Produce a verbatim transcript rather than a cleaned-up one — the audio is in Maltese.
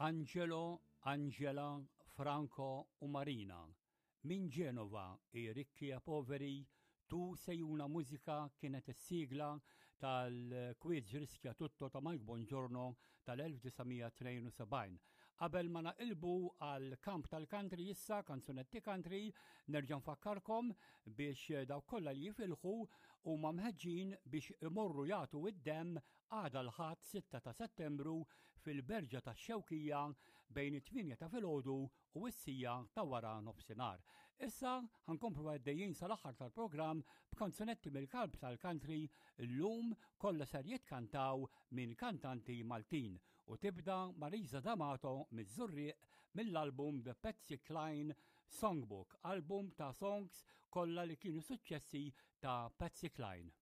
Angelo, Angela, Franco u Marina. Minn Genova, I ricchi e poveri, Tu sei una musica kienet is-sigla tal-quiz Rischia Tutto ta' Mike Bongiorno tal-elf disa' mija tnejn u sebgħin. Qabel ma naqilbu għal kamp tal-country issa, kanzunetti country, nerġa' nfakkarkom biex dawk kollha li jifilħu huma mħeġġin biex imorru jagħtu id-demm għada l-Ħadd sitta ta' Settembru fil-Berġa tax-Xewkija bejn it-tmienja ta' filgħodu u s-siegħa ta' wara nofsinhar. Issa ħa nkomplu għaddejjin sal-aħħar tal-programm b'kanzunetti mill-kalb tal-country, llum kollha ser jitkantaw minn kantanti Maltin u tibda Marisa D'Amato miż-Żurrieq mill-album The Patsy Cline Songbook, album ta' songs kollha li kienu suċċessi ta' Patsy Cline.